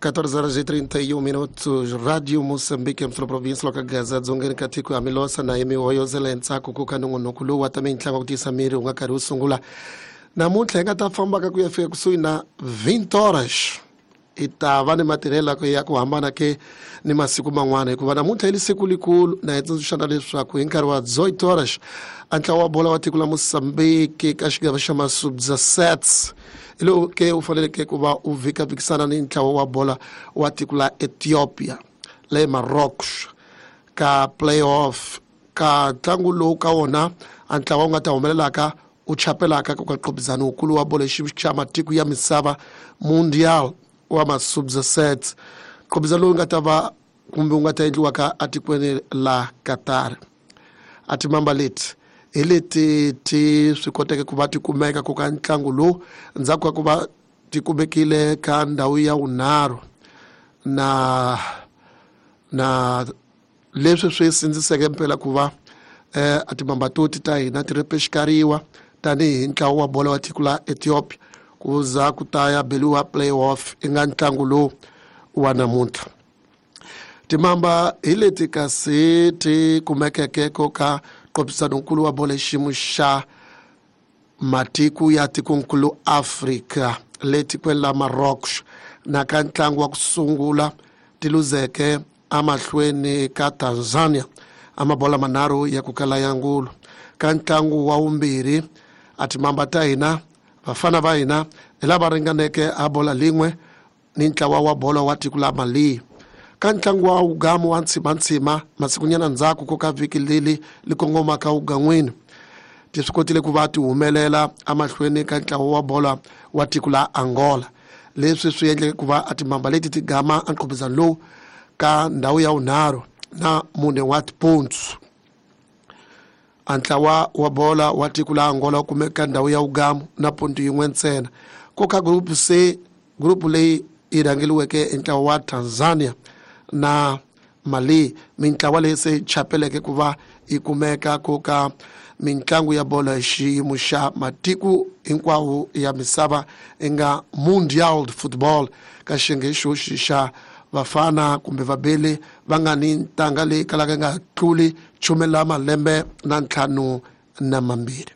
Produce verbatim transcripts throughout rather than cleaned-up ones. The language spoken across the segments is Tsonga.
catorze horas e trinta e um minutos, Rádio Moçambique, Amsterdã, província, loka Gaza, dzongeni ka tiko ya Milosa na Emihoyo Zelentsako ku ka nongonoko lowu wa ta mitlangu ku tisa miri wu nga karhi wu sungula. Namuntlha hi nga ta fambaka ku ya fika kusuhi na vinte horas. Hi ta va ni matirhelo ya ku hambana ke ni masiku man'wana hikuva namuntlha hi li siku likulu na hi tsundzuxana leswaku hi nkarhi wa dezoito horas a ntlawa wa bola wa tiko la Moçambique ka xigava xa masubdezessete hi lowu ke u faneleke ku va u vhikavhikisana ni ntlawa wa bola wa tiko la Ethiopia le Marrocos ka playoff ka ntlangu lowu ka wona a ntlawa wu nga ta humelelaka u chapelaka ku ka qhubizano wukulu wa bola xa matiko ya misava mundial wa masubdezessete qhubizano lowu nga ta va kumbe wu nga ta endliwaka atikweni la Qatar. A timamba leti hi leti ti swi koteke ku va ti kumeka ku ka ntlangu lowu ndzhaku ka ku va ti kumekile ka ndhawu ya vunharhu na na leswi swi sindziseke mpela ku va eh, a timamba toti ta hina ti repexikariwa tanihi ntlawa wa bola wa tiko la Ethiopia ku za ku ta ya beliwa playoff i nga ntlangu lowu wa namuntlha. Timamba hi leti kasi ti kumekeke ko ka nqophisanonkulu wa bola xiyimo xa matiko ya tikonkulu Afrika le tikweni la Marrocos na ka ntlangu wa ku sungula ti luzeke amahlweni ka Tanzania a mabola manharhu ya ku kala ya ngulu. Ka ntlangu wa vumbirhi a timamba ta hina vafana va hina hi lava ringaneke a bola lin'we ni ntlawa wa bolo wa tiko la Mali. Ka ntlangu wa wugamu wa ntshimantsima masikunyana ndzhaku ko ka vhiki leli li kongomaka wugan'wini ti swi kotile ku va ti humelela amahlweni ka ntlawa wa bola wa tiko la Angola. Leswi swi endleke ku va a timamba leti ti gama a nqhubizano lowu ka ndhawu ya vunharhu na mune wa tipontsu. A ntlawa wa bola wa tiko la Angola wu kumeka ndhawu ya wugamu na ponto yin'we ntsena. Ko ka group C, group leyi yi rhangeliweke hi ntlawa wa Tanzania na Mali, mintlawa leyi se chapeleke ku va yi kumeka ku ka mintlangu ya bola hi xiyimo xa matiko hinkwawo ya misava i nga Mundial de Football ka xiyenge xoxi xa vafana kumbe vabeli va nga ni ntanga leyi kalaka yi nga tluli khume la malembe na ntlhanu na mambirhi.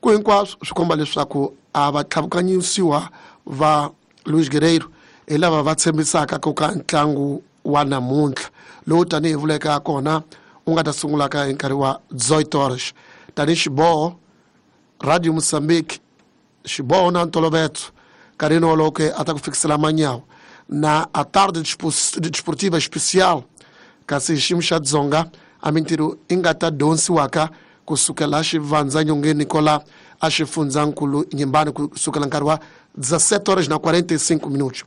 Ku hinkwaswo swi komba leswaku a va tlhavukanyisiwa va Luis Guerreiro hi lava va tshembisaka ku ka ntlangu wa namuntlha lowu tanihi vuleka kona wu nga ta sungulaka hi nkarhi wa dezoito horas. Tanihi xiboho Radio Moçambique xiboho na ntoloveto nkarhini wolowo ke a ta ku fikisela manyawu na a tarde desportiva especial kasi xiyimo xa Dzonga a mintirho i nga ta dyondzisiwaka kusukela xivandzanyongeni kola a xifundzankulu Nyimbani kusukela nkarhi wa dezessete horas na quarenta e cinco minutos.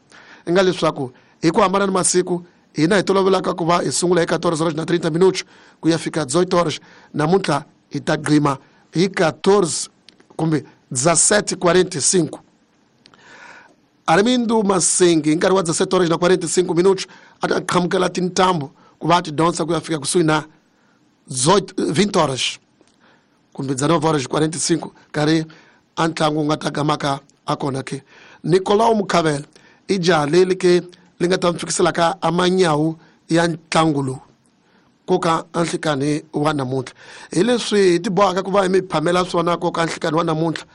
I nga leswaku hi ku hambana ni masiku hina hi tolovelaka ku va hi sungula hi catorze horas na trinta minutos ku ya fika dezoito horas, namuntlha hi ta gqima hi catorze kumbe dezessete e quarenta e cinco. Armindo Massengue hi nkarhi wa dezessete horas na quarenta e cinco minutos a ta qhamukela tintambu ku va ti dyondza ku ya fika kusuhi na vinte horas kumbe dezenove horas e quarenta e cinco nkarhi a ntlangu wu nga ta gamaka a kona ke. Nicolau Mukhavela i jaha leri ke li nga ta mi fikiselaka a manyawu ya ntlangu lowu ko ka nhlikani wa namuntlha. Hi leswi hi ti bohaka ku va hi mi phamela swona ko ka nhlikani wa namuntlha.